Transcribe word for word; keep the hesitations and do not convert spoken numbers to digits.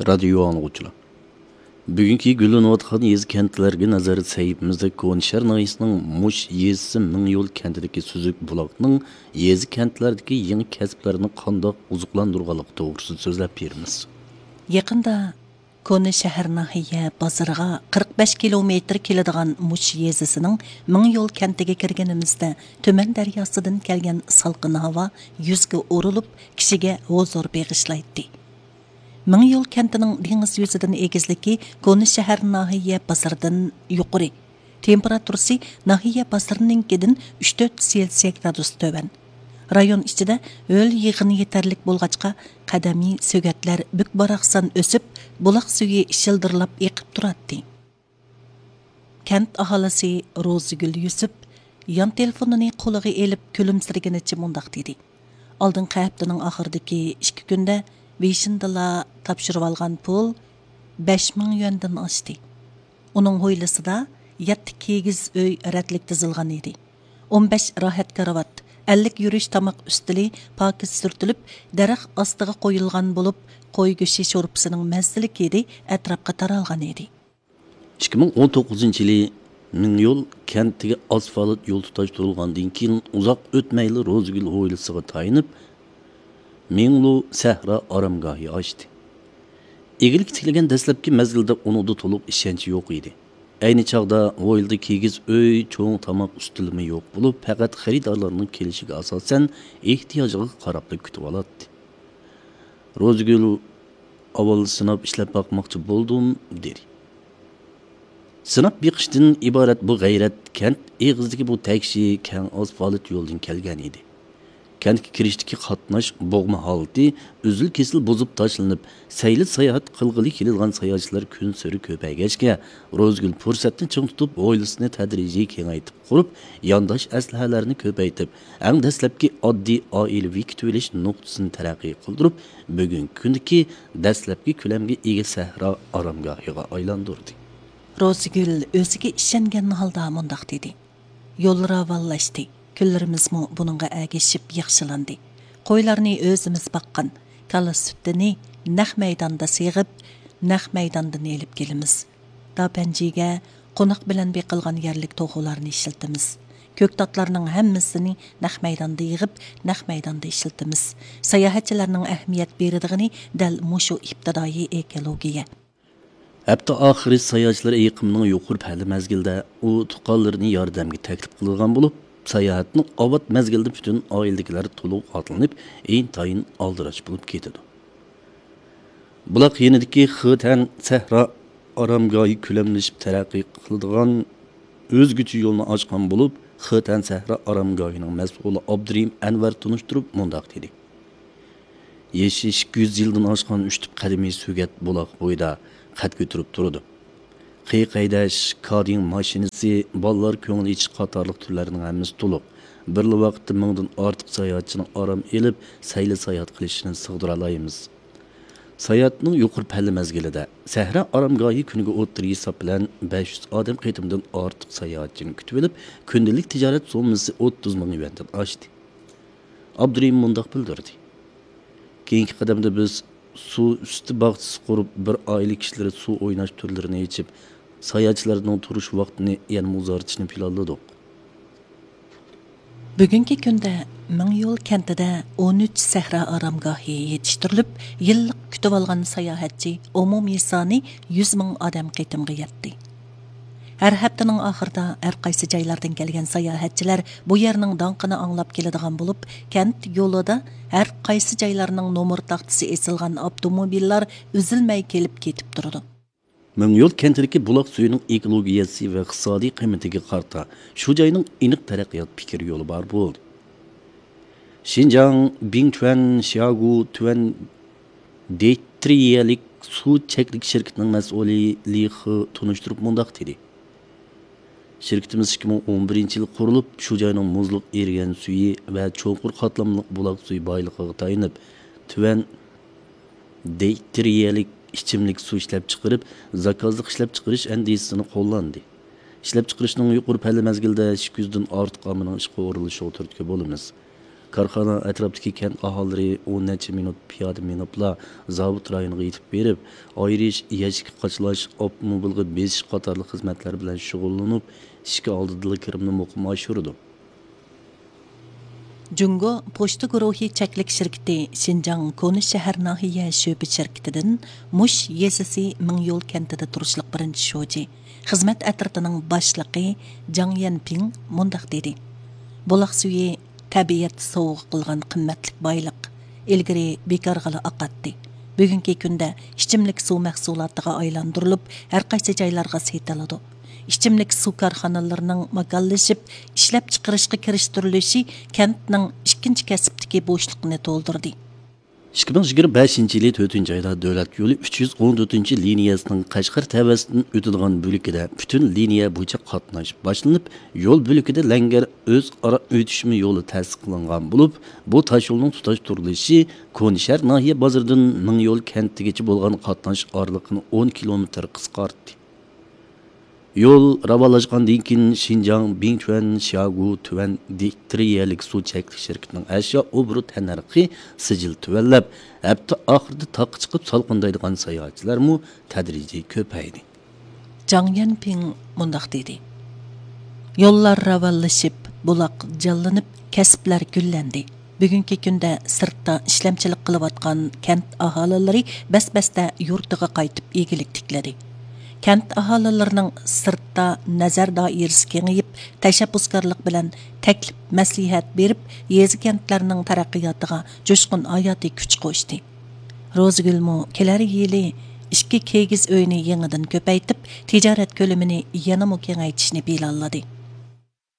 رادىيو ئاڭلىغۇچىلار، بۈگۈنكى گۈللىنىۋاتقان يېزا-كەنتلەرگە نەزەر سەھىپىمىزدە كونا شەھەر ناھىيەسىنىڭ مۇش يېزىسى مىڭ يول كەنتىدىكى سۈزۈك بۇلاقنىڭ يېزا-كەنتلەردىكى يېڭى كەسىپلەرنى قانداق ئوزۇقلاندۇرغانلىقى توغرىسىدا سۆزلەپ بېرىمىز. يېقىندا كونا شەھەر ناھىيە بازىرىغا قىرىق بەش كىلومېتىر كېلىدىغان مۇش يېزىسىنىڭ مىڭ يول كەنتىگە كىرگىنىمىزدە، تۈمەن دەرياسىدىن كەلگەن سالقىن ھاۋا يۈزگە ئۇرۇلۇپ، كىشىگە ھۇزۇر بېغىشلايتتى. مىڭ يول كەنتىنىڭ دېڭىز يۈزىدىن ئېگىزلىكى كونا شەھەر ناھىيە بازىرىدىن يۇقىرى. تېمپېراتۇرىسى ناھىيە بازىرىنىڭكىدىن ئۈچ تۆت سېلسىيە گرادۇس تۆۋەن. رايون ئىچىدە ھۆل يىغىنى يېتەرلىك بولغاچقا، قەدىمىي سۆگەتلەر بۈك-باراقسان ئۆسۈپ، بۇلاق سۈيى شىلدىرلاپ ئېقىپ تۇراتتى. كەنت ئاھالىسى روزىگۈل يۈسۈپ يان تېلېفونىنى قولىغا ئېلىپ كۈلۈمسىرىگىنىچە مۇنداق دېدى: «ئالدىنقى ھەپتىنىڭ ئاخىرىدىكى ئىككى كۈندە بېشىندىلا تاپشۇرۇۋالغان پۇل بەش مىڭ يۈەندىن ئاشتى. ئۇنىڭ ھويلىسىدا يەتتە كىگىز ئۆي رەتلىك تىزىلغان ئىدى. ئون بەش راھەت كارىۋات، ئەللىك يۈرۈش تاماق ئۈستىلى پاكىز سۈرتۈلۈپ، دەرەخ ئاستىغا قويۇلغان بولۇپ، قوي گۆشى شورپىسىنىڭ مەززىلىك ھىدى ئەتراپقا تارالغان ئىدى.» ئىككى مىڭ ئون توققۇزىنچى يىلى مىڭيول كەنتىگە ئاسفالت يول تۇتاشتۇرۇلغاندىن كېيىن، ئۇزاق ئۆتمەيلا روزىگۈل ھويلىسىغا تايىنىپ، مىڭلۇ سەھرا ئارامگاھى ئاچتى. ئىگىلىككە تىكلىگەن دەسلەپكى مەزگىلدە ئۇنىڭدا تولۇق ئىشەنچ يوق ئىدى. ئەينى چاغدا ھويلىدا كىگىز ئۆي، چوڭ تاماق ئۈستىلىمۇ يوق بولۇپ، پەقەت خېرىدارلارنىڭ كېلىشىگە ئاساسەن، ئېھتىياجىغا قاراپلا كۈتۈۋالاتتى. روزىگۈل: «ئاۋۋال سىناپ ئىشلەپ باقماقچى بولدۇم» دېدى. سىناپ بېقىشتىن ئىبارەت بۇ غەيرەت كەنت ئېغىزىدىكى بۇ تەكشى كەڭ ئاسفالت يولدىن كەلگەن ئىدى. كەنتكە كىرىشتىكى قاتناش بوغما ھالىتى ئۈزۈل-كېسىل بۇزۇپ تاشلىنىپ، سەيلە-ساياھەت قىلغىلى كېلىدىغان ساياھەتچىلەر كۈنسېرى كۆپەيگەچكە، روزىگۈل پۇرسەتنى چىڭ تۇتۇپ، ھويلىسىنى تەدرىجىي كېڭەيتىپ قۇرۇپ، يانداش ئەسلىھەلەرنى كۆپەيتىپ، ئەڭ دەسلەپكى ئاددىي ئائىلىۋى كۈتۈۋېلىش نۇقتىسىنى تەرەققىي قىلدۇرۇپ، بۈگۈنكى كۈندىكى دەسلەپكى كۆلەمگە ئىگە سەھرا ئارامگاھىغا ئايلاندۇردى. روزىگۈل ئۆزىگە ئىشەنگەن ھالدا مۇنداق دېدى: «يول راۋانلاشتى، كۈنلىرىمىزمۇ بۇنىڭغا ئەگىشىپ ياخشىلاندى. قويلارنى ئۆزىمىز باققان، كالا سۈتىنى نەق مەيداندا سېغىپ، نەق مەيداندىن ئېلىپ كېلىمىز. داپەنجىگە قوناق بىلەن بېقىلغان يەرلىك توخۇلارنى ئىشلىتىمىز. كۆكتاتلارنىڭ ھەممىسىنى نەق مەيداندا يىغىپ، نەق مەيداندا ئىشلىتىمىز. ساياھەتچىلەرنىڭ ئەھمىيەت بېرىدىغىنى دەل مۇشۇ ئىپتىدائىي ئېكولوگىيە.» ھەپتە ئاخىرى ساياھەتچىلەر ئېقىمىنىڭ يۇقىرى پەللە مەزگىلىدە ئۇ تۇغقانلىرىنى ياردەمگە تەكلىپ قىلىدىغان بولۇپ، ساياھەتنىڭ ئاۋات مەزگىلىدە پۈتۈن ئائىلىدىكىلەر تولۇق ئاتلىنىپ، ئىنتايىن ئالدىراش بولۇپ كېتىدۇ. بۇلاق يېنىدىكى خېتەن سەھرا ئارامگاھى كۆلەملىشىپ تەرەققىي قىلىدىغان ئۆزگىچە يولنى ئاچقان بولۇپ، خېتەن سەھرا ئارامگاھىنىڭ مەسئۇلى ئابدۇرېھىم ئەنۋەر تونۇشتۇرۇپ مۇنداق دېدى: «يېشى ئىككى يۈز يىلدىن ئاشقان ئۈچ تۈپ قەدىمىي سۆگەت بۇلاق بويىدا قەد كۆتۈرۈپ تۇرىدۇ. قېيىق ھەيدەش، كادىڭ ماشىنىسى، بالىلار كۆڭۈل ئېچىش قاتارلىق تۈرلەرنىڭ ھەممىسى تولۇق. بىرلا ۋاقىتتا مىڭدىن ئارتۇق ساياھەتچىنىڭ ئارام ئېلىپ، سەيلە ساياھەت قىلىشىنى سىغدۇرالايمىز. ساياھەتنىڭ يۇقىرى پەللە مەزگىلىدە سەھرا ئارامگاھى كۈنىگە ئوتتۇرا ھېساب بىلەن بەش يۈز ئادەم قېتىمدىن ئارتۇق ساياھەتچىنى كۈتۈۋېلىپ، كۈندىلىك تىجارەت سوممىسى ئوتتۇز مىڭ يۈەندىن ئاشتى.» ئابدۇرېھىم مۇنداق بىلدۈردى: «كېيىنكى قەدەمدە بىز سۇ ئۈستى باغچىسى قۇرۇپ، بىر ئائىلە كىشىلىرى سۇ ئويناش تۈرلىرىنى ئېچىپ، ساياھەتچىلەرنىڭ تۇرۇش ۋاقتىنى يەنىمۇ ئۇزارتىشنى پىلانلىدۇق.» بۈگۈنكى كۈندە مىڭيول كەنتىدە ئون ئۈچ سەھرا ئارامگاھى يېتىشتۈرۈلۈپ، يىللىق كۈتۈۋالغان ساياھەتچى ئومۇمىي سانى يۈز مىڭ ئادەم قېتىمغا يەتتى. ھەر ھەپتىنىڭ ئاخىرىدا ھەر قايسى جايلاردىن كەلگەن ساياھەتچىلەر بۇ يەرنىڭ داڭقىنى ئاڭلاپ كېلىدىغان بولۇپ، كەنت يولىدا ھەر قايسى جايلارنىڭ نومۇر تاختىسى ئېسىلغان ئاپتوموبىللار ئۈزۈلمەي كېلىپ كېتىپ تۇرىدۇ. مىڭيول كەنتىدىكى بۇلاق سۈيىنىڭ ئېكولوگىيەسى ۋە ئىقتىسادىي قىممىتىگە قارىتا، شۇ جاينىڭ ئېنىق تەرەققىيات پىكىر يولى بار بولدى. شىنجاڭ بىڭتۈەن شياگۇ تۈەن دېيترىيەلىك سۇ چەكلىك شىركىتىنىڭ مەسئۇلى لى خې تونۇشتۇرۇپ مۇنداق دېدى: «شىركىتىمىز ئىككى مىڭ ئون بىرىنچى يىلى قۇرۇلۇپ، شۇ جاينىڭ مۇزلۇق ئېرىگەن سۈيى ۋە چوڭقۇر قاتلاملىق بۇلاق سۈيى بايلىقىغا تايىنىپ، تۈەن دېيترىيەلىك ئىچىملىك سۇ ئىشلەپچىقىرىپ، زاكازلىق ئىشلەپچىقىرىش ئەندىزىسىنى قوللاندى. ئىشلەپچىقىرىشنىڭ يۇقىرى پەللە مەزگىلىدە ئىككى يۈزدىن ئارتۇق ئاممىنىڭ ئىشقا ئورۇنلىشىشىغا تۈرتكە بولىمىز. كارخانا ئەتراپتىكى كەنت ئاھالىلىرى ئون نەچچە مىنۇت پىيادە مېڭىپلا زاۋۇت رايونىغا يېتىپ بېرىپ، ئايرىش، يەشىككە قاچىلاش، ئاپتوموبىلغا بېسىش قاتارلىق خىزمەتلەر بىلەن شۇغۇللىنىپ، ئىشىك ئالدىدىلا كىرىمنى مۇقىم ئاشۇرىدۇ. جۇڭگو پوچتا گۇرۇھى چەكلىك شىركىتى شىنجاڭ كونا شەھەر ناھىيە شۆبە شىركىتىدىن مۇش يېزىسى مىڭيول كەنتىدە تۇرۇشلۇق بىرىنچى شوجى، خىزمەت ئەترىتىنىڭ باشلىقى جاڭ يەنپىڭ مۇنداق دېدى: بۇلاق سۈيى تەبىئەت سوۋغا قىلغان قىممەتلىك بايلىق. ئىلگىرى بىكارغىلا ئاقاتتى. بۈگۈنكى كۈندە ئىچىملىك سۇ مەھسۇلاتىغا ئايلاندۇرۇلۇپ، ھەر قايسى جايلارغا سېتىلىدۇ. ئىچىملىك سۇ كارخانىلىرىنىڭ ماكانلىشىپ، ئىشلەپچىقىرىشقا كىرىشتۈرۈلۈشى كەنتنىڭ ئىككىنچى كەسىپتىكى بوشلۇقىنى تولدۇردى. ئىككى مىڭ يىگىرمە بەشىنچى يىلى تۆتىنچى ئايدا دۆلەت يولى ئۈچ يۈز ئون تۆتىنچى لىنىيەسىنىڭ قەشقەر تەۋەسىدىن ئۆتىدىغان بۆلىكىدە پۈتۈن لىنىيە بويىچە قاتناش باشلىنىپ، يول بۆلىكىدە لەڭگەر ئۆزئارا ئۆتۈشمە يولى تەسىس قىلىنغان بولۇپ، بۇ تاشيولنىڭ تۇتاشتۇرۇلۇشى كونا شەھەر ناھىيە بازىرىدىن مىڭيول كەنتىگىچە بولغان قاتناش ئارىلىقىنى ئون كىلومېتىر قىسقارتتى. يول راۋانلاشقاندىن كېيىن، شىنجاڭ بىڭتۈەن شياگۇ تۈەن دىترىيەلىك سۇ چەكلىك شىركىتىنىڭ ئەشيا ئوبوروت تەننەرخى سىجىل تۆۋەنلەپ، ھەپتە ئاخىرىدا تاغقا چىقىپ سالقىندايدىغان ساياھەتچىلەرمۇ تەدرىجىي كۆپەيدى. جاڭ يەنپىڭ مۇنداق دېدى: يوللار راۋانلىشىپ، بۇلاق جانلىنىپ، كەسىپلەر گۈللەندى. بۈگۈنكى كۈندە سىرتتا ئىشلەمچىلىك قىلىۋاتقان كەنت ئاھالىلىرى بەس-بەستە يۇرتىغا قايتىپ ئىگىلىك تىكلىدى. كەنت ئاھالىلىرىنىڭ سىرتتا نەزەر دائىرىسى كېڭىيىپ، تەشەببۇسكارلىق بىلەن تەكلىپ، مەسلىھەت بېرىپ، يېزا، كەنتلەرنىڭ تەرەققىياتىغا جۇشقۇن ھاياتىي كۈچ قوشتى. روزىگۈلمۇ كېلەر يىلى ئىككى كىگىز ئۆينى يېڭىدىن كۆپەيتىپ، تىجارەت كۆلىمىنى يەنىمۇ كېڭەيتىشنى پىلانلىدى.